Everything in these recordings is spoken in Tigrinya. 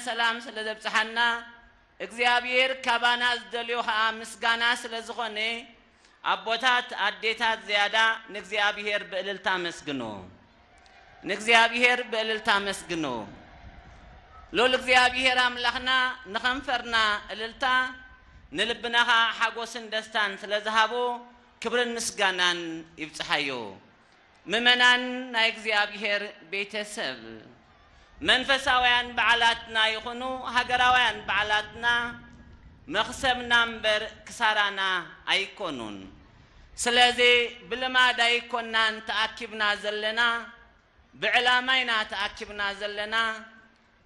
ሰላም ስለ ዘብጽሓና እግዚኣብሔር ካባና ዝደልዮ ኸኣ ምስጋና ስለ ዝኾነ ኣቦታት ኣዴታት ዝያዳ ንእግዚኣብሔር ብእልልታ ኣመስግኖ። ንእግዚኣብሔር ብእልልታ ኣመስግኖ። ሉል እግዚኣብሔር ኣምላኽና ንኸንፈርና እልልታ ንልብና ኸኣ ሓጎስን ደስታን ስለ ዝሃቦ ክብርን ምስጋናን ይብጽሓዮ። ምእመናን ናይ እግዚኣብሔር ቤተሰብ፣ መንፈሳውያን በዓላትና ይኹኑ ሃገራውያን በዓላትና መኽሰብና እምበር ክሳራና ኣይኮኑን። ስለዚ ብልማድ ኣይኮናን ተኣኪብና ዘለና፣ ብዕላማ ኢና ተኣኪብና ዘለና።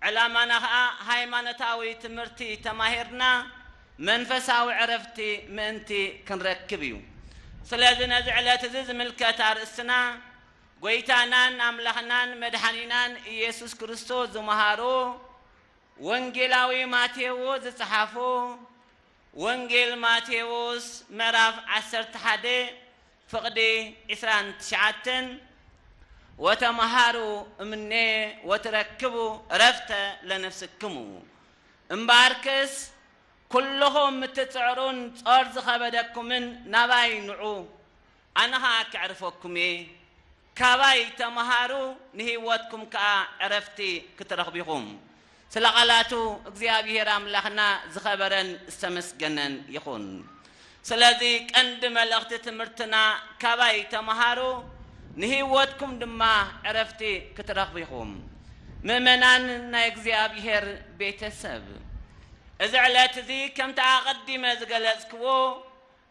ዕላማና ኸኣ ሃይማኖታዊ ትምህርቲ ተማሂርና መንፈሳዊ ዕረፍቲ ምእንቲ ክንረክብ እዩ። ስለዚ ነዚ ዕለት እዚ ዝምልከት ኣርእስትና ጎይታናን ኣምላኽናን መድሓኒናን ኢየሱስ ክርስቶስ ዝመሃሮ ወንጌላዊ ማቴዎስ ዝጸሓፎ ወንጌል ማቴዎስ ምዕራፍ ዓሰርተ ሓደ ፍቕዲ ዕስራን ትሽዓተን፣ "ወተመሃሩ እምኔ ወትረክቡ ዕረፍተ ለነፍስክሙ። እምበኣርከስ ኩልኹም እትጽዕሩን ጾር ዝኸበደኩምን ናባይ ንዑ፣ ኣነ ኸኣ ከዕርፈኩም እየ። ካባይ ተመሃሩ፣ ንህይወትኩም ከኣ ዕረፍቲ ክትረኽቡ ኢኹም።" ስለ ቃላቱ እግዚኣብሔር ኣምላኽና ዝኸበረን ዝተመስገነን ይኹን። ስለዚ ቀንዲ መልእኽቲ ትምህርትና፣ "ካባይ ተመሃሩ፣ ንህይወትኩም ድማ ዕረፍቲ ክትረኽቡ ኢኹም።" ምእመናን ናይ እግዚኣብሔር ቤተሰብ፣ እዚ ዕለት እዚ ከምቲ ኣቐዲመ ዝገለጽክዎ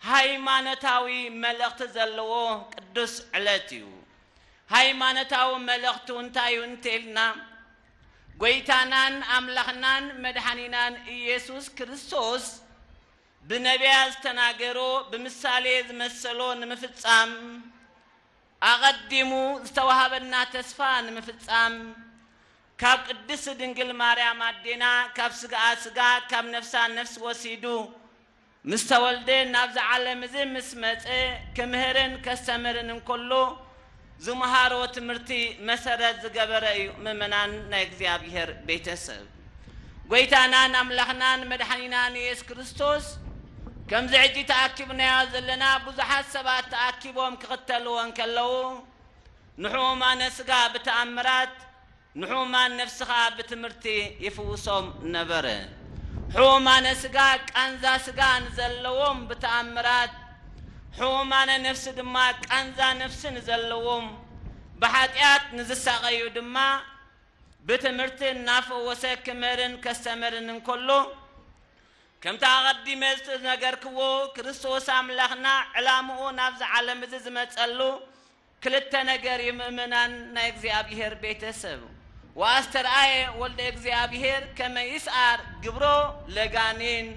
ሃይማኖታዊ መልእኽቲ ዘለዎ ቅዱስ ዕለት እዩ። ሃይማኖታዊ መልእኽቱ እንታይ እዩ እንተኢልና፣ ጎይታናን ኣምላኽናን መድሓኒናን ኢየሱስ ክርስቶስ ብነቢያት ዝተናገሮ፣ ብምሳሌ ዝመሰሎ ንምፍጻም፣ ኣቐዲሙ ዝተዋሃበና ተስፋ ንምፍጻም፣ ካብ ቅድስቲ ድንግል ማርያም ኣዴና ካብ ስጋኣ ስጋ ካብ ነፍሳ ነፍስ ወሲዱ ምስ ተወልደ ናብዚ ዓለም እዚ ምስ መጸ ክምህርን ከስተምህርን እንከሎ ዝመሃሮ ትምህርቲ መሰረት ዝገበረ እዩ። ምእመናን ናይ እግዚኣብሔር ቤተሰብ፣ ጎይታናን ኣምላኽናን መድሓኒናን ኢየሱስ ክርስቶስ ከምዚ ሕጂ ተኣኪብናዮ ዘለና ብዙሓት ሰባት ተኣኪቦም ክኽተልዎ እንከለዉ ንሕሙማነ ስጋ ብተኣምራት ንሕሙማን ነፍሲ ኸኣ ብትምህርቲ ይፍውሶም ነበረ። ሕሙማነ ስጋ ቃንዛ ስጋ ንዘለዎም ብተኣምራት፣ ሕሙማነ ነፍሲ ድማ ቃንዛ ነፍሲ ንዘለዎም፣ ብሓጢኣት ንዝሳቐዩ ድማ ብትምህርቲ እናፈወሰ ክምህርን ከስተምህርን እንከሎ፣ ከምቲ ኣቐዲመ ዝተነገርክዎ ክርስቶስ ኣምላኽና ዕላምኡ ናብዚ ዓለም እዚ ዝመጸሉ ክልተ ነገር እዩ። ምእመናን ናይ እግዚኣብሔር ቤተሰብ፣ "ወኣስተርኣየ ወልደ እግዚኣብሔር ከመ ይስዓር ግብሮ ለጋኔን"፣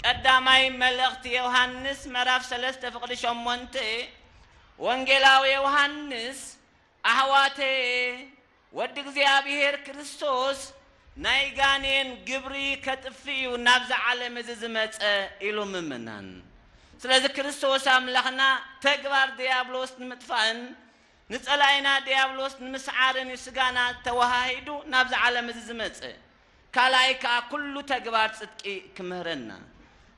ቀዳማይ መልእኽቲ ዮሃንስ ምዕራፍ ሰለስተ ፍቕዲ ሸሞንተ፣ ወንጌላዊ ዮሃንስ፣ "ኣሕዋተየ፣ ወዲ እግዚኣብሔር ክርስቶስ ናይ ጋኔን ግብሪ ከጥፍእ እዩ ናብዚ ዓለም እዚ ዝመጸ" ኢሉ ምእመናን። ስለዚ ክርስቶስ ኣምላኽና ተግባር ድያብሎስ ንምጥፋእን ንጸላኢና ድያብሎስ ንምስዓርን እዩ ስጋና ተወሃሂዱ ናብዚ ዓለም እዚ ዝመጸ። ካልኣይ ከኣ ኩሉ ተግባር ጽድቂ ክምህረና።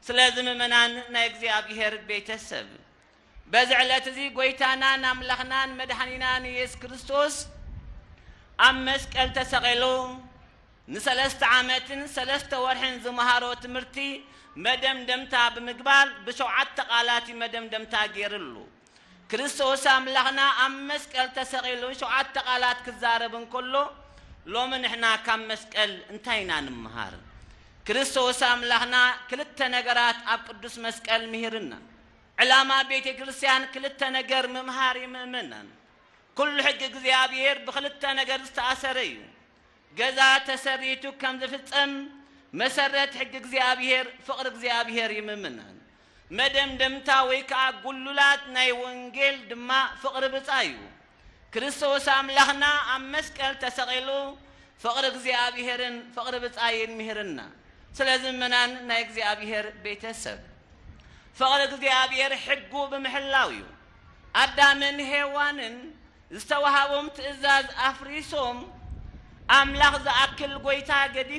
ስለዚ ምእመናን ናይ እግዚኣብሔር ቤተሰብ፣ በዚ ዕለት እዚ ጎይታናን ኣምላኽናን መድሓኒናን ኢየሱስ ክርስቶስ ኣብ መስቀል ተሰቒሉ ንሰለስተ ዓመትን ሰለስተ ወርሕን ዝመሃሮ ትምህርቲ መደምደምታ ብምግባር ብሸውዓተ ቃላት እዩ መደምደምታ ገይርሉ። ክርስቶስ ኣምላኽና ኣብ መስቀል ተሰቒሉ ሸውዓተ ቃላት ክዛረብ እንከሎ፣ ሎሚ ንሕና ካብ መስቀል እንታይ ኢና ንምሃር? ክርስቶስ ኣምላኽና ክልተ ነገራት ኣብ ቅዱስ መስቀል ምሂርና። ዕላማ ቤተ ክርስቲያን ክልተ ነገር ምምሃር እዩ ምእመናን። ኩሉ ሕጊ እግዚኣብሔር ብክልተ ነገር ዝተኣሰረ እዩ። ገዛ ተሰሪቱ ከም ዝፍጸም መሰረት ሕጊ እግዚኣብሔር ፍቕሪ እግዚኣብሔር እዩ ምእመናን። መደምደምታ ወይ ከኣ ጉሉላት ናይ ወንጌል ድማ ፍቕሪ ብጻ እዩ። ክርስቶስ ኣምላኽና ኣብ መስቀል ተሰቒሉ ፍቕሪ እግዚኣብሔርን ፍቕሪ ብጻይን ምሂርና። ስለዚ ምእመናን ናይ እግዚኣብሔር ቤተሰብ፣ ፍቕሪ እግዚኣብሔር ሕጉ ብምሕላው እዩ። ኣዳምን ሄዋንን ዝተዋሃቦም ትእዛዝ ኣፍሪሶም ኣምላኽ ዝኣክል ጎይታ ገዲፎም